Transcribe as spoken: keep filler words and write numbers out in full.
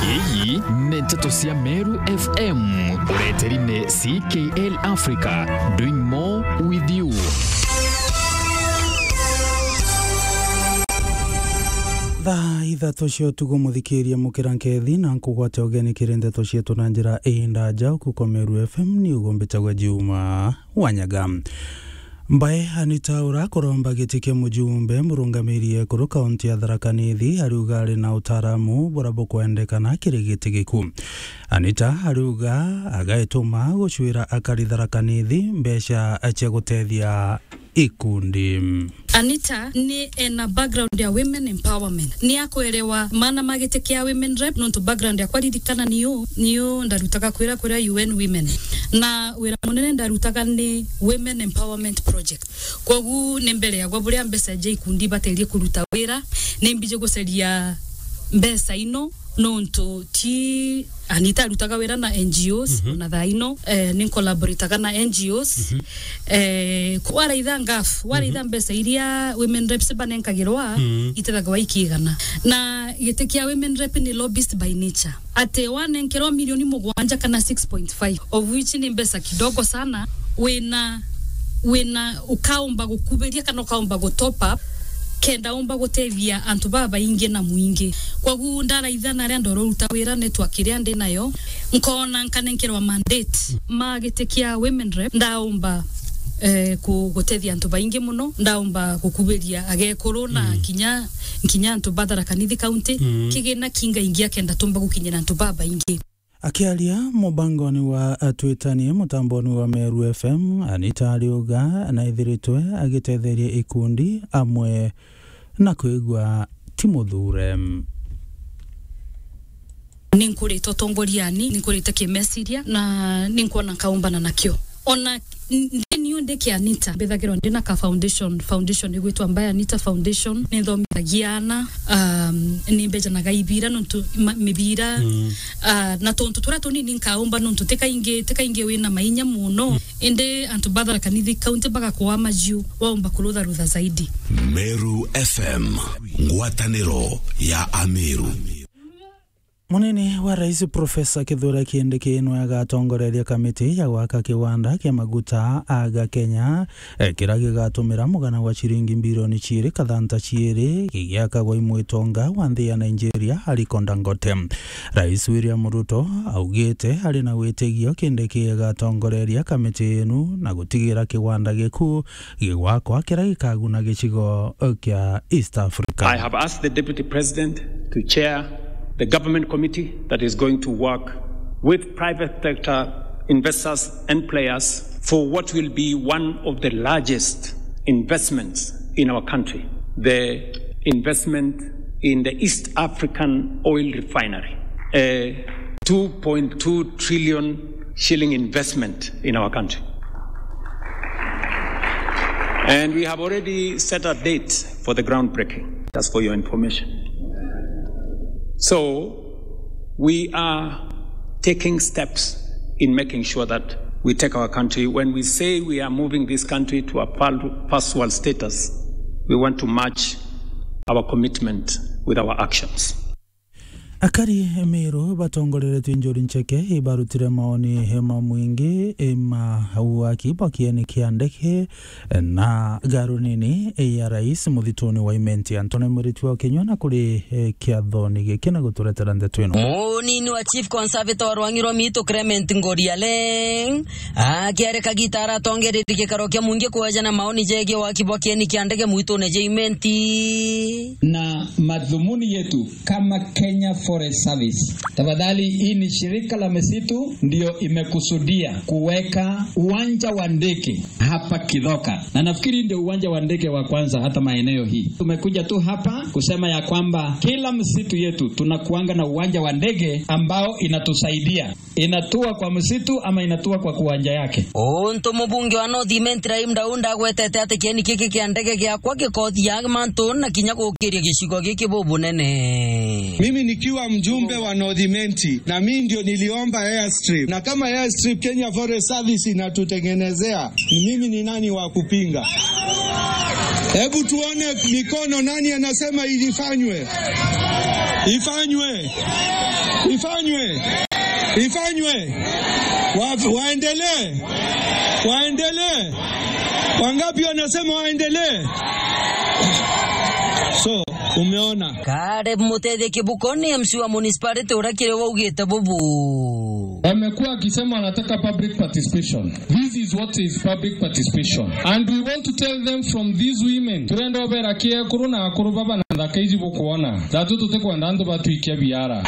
Iyi ni nteto cia Meru F M, ureteri ni C K L Africa, doing more with you. Thaa ithatu cia utuku, muthikiria mukira nkethi na nkugwate ugeni kiri nteto cietu na njira indaja. Uku kwa Meru F M ni ugo mbitagwa Juma Wanyaga. Mbae Anita ura kuromba giti kia mujumbe murungamiri ekuru kaunti ya Tharaka Nithi ariuga ari na utaaramu bura bukwendekana kiri giti giku. Anita ariuga agaituma gucwira akari Tharaka Nithi mbeca cia gutethia ikundi. Anita ni ena background ya women empowerment. Ni akwerewa maana ma giti kia women rep, nontu background yakwa ririkana niyo, niyo ndarutaga kwira kuria U N Women. Na wira munene ndarutaga ni Women Empowerment Project. Kwogu ni mbere yagwa buria mbeca ja ikundi baterie kuruta wira, ni mbiji gucaria mbeca ino, nontu ti Anita arutaga wira na N G Os, mhm, na thaa ino, eh, ni collaborataga na N G Os. Mhm. Eh, waraitha ngafu, waraitha, mhm, mbeca iria women reps banenkagirwa, mhm, itethagwa ikigana. Na giti kia women rep ni lobbyist by nature. Ati wanenkerwa milioni mugwanja kana six point five, of which ni mbeca kidogo sana, wina, wina ukaumba gukubiria kana ukaumba gu top up, kenda umba gutethia antu babaingi na mwingi. Kwogu ndaraitha na aria ndoruta wira network iria ndi nayo, nkona nkanenkerwa mandate ma giti kia women rep, ndaumba, eh, ku-, gutethia antu baingi muno, ndaumba gukubiria agekuru na, mm, kinya, kinya antu ba Tharaka Nithi County, mm, kigina kingaingia kenda tumba gukinyira antu babaingi. Akiaria mubangoni wa Atwitanie mutamboni wa Meru F M, Anita ariuga naithiritwe agitetheria ikundi amwe na kwigua ti muthure. Ninkurite utongoriani, ninkurite kimeciria, na ninkwona nkaumbana nakio. Ona n-, ndi niu ndi kia Anita, mbithagirwa ndi na ka foundation, foundation igwitwa Mbae Anita Foundation. Ninthomithagia aana, um, nimbejanaga ibira nontu ma-, mibira, mm, ah, na tuntu turia tunini nkaumba nontu ti kaingi, ti kaingi wina mainya muno. Mm. Indi antu ba Tharaka Nithi County bagakwaa majiu, waumba kurutharutha zaidi. Meru F M, ngwataniro ya Ameru. Munini wa Rais Profesa Kithure Kindiki nwe agatongoreria kamiti ya gwaka kiwanda kia maguta aga Kenya, eh, kiria gigatumira mugana wa ciringi mbirioni ciiri kathanta ciiri, gigiakagwa i mwitonga wa nthi ya Nigeria, Aliko Dangote. Rais William Ruto augite ari na witigio Kindiki agatongoreria kamiti inu na gutigira kiwanda giku gigwakwa kiria gikaguna gicigo kia East Africa. I have asked the Deputy President to chair the government committee that is going to work with private sector investors and players for what will be one of the largest investments in our country, the investment in the East African oil refinery, a two point two trillion shilling investment in our country. And we have already set a date for the groundbreaking, just for your information. So, we are taking steps in making sure that we take our country. When we say we are moving this country to a fir-, first world status, we want to match our commitment with our actions. Akari Meru batongoreretwe Njuri Ncheke ibarutire maoni ma mwingi ma uaki bwa kieni kia ndege na garu nini ya rais muthituni wa Imenti. Antone Mwiritu wa Kinyua na kuri, eh, kiathoni giki na guturetera ndeto ino. Munini wa Chief Conservator wa Rwang'i rwa Miitu Clement Ngoriale akiarika gita aratongereria gikaro kia mwingi kuejana maoni jegie waki bwa kieni kia ndege mwitune ja Imenti. Na madhumuni yetu kama Kenya Forest Service, tafadhali, hii ni shirika la misitu ndio imekusudia kuweka uwanja wa ndege hapa Kithoka, na nafikiri ndio uwanja wa ndege wa kwanza hata maeneo hii. Tumekuja tu hapa kusema ya kwamba kila msitu yetu tunakuanga na uwanja wa ndege ambao inatusaidia, inatua kwa msitu ama inatua kwa kiwanja yake. Untu mubunge wa North Imenti Rahim Daud agwetete ati kieni giki kia ndege giakwa gikothia mantu na kinya gukiria gicigo giki bubunene. Mimi nikiwa mjumbe wa North Imenti, na mimi ndio niliomba airstrip. Na kama airstrip Kenya Forest Service inatutengenezea, ni mimi ni nani wa kupinga? Hebu tuone mikono, nani anasema ilifanywe? Ifanywe. Ifanywe. Ifanywe. Wa-, waendelee. Waendelee. Wangapi wanasema waendelee? So, umeona. Caleb Mutethia Kibuko ni M C wa municipality uria kiri waugite bubu. Wamekuwa wakisema wanataka public participation. This is what is public participation. And we want to tell them from these women. Turenda obera ki ekuru na akuru baba na nthaka iji bukwona. Thatu tutikwenda antu batwikia biara.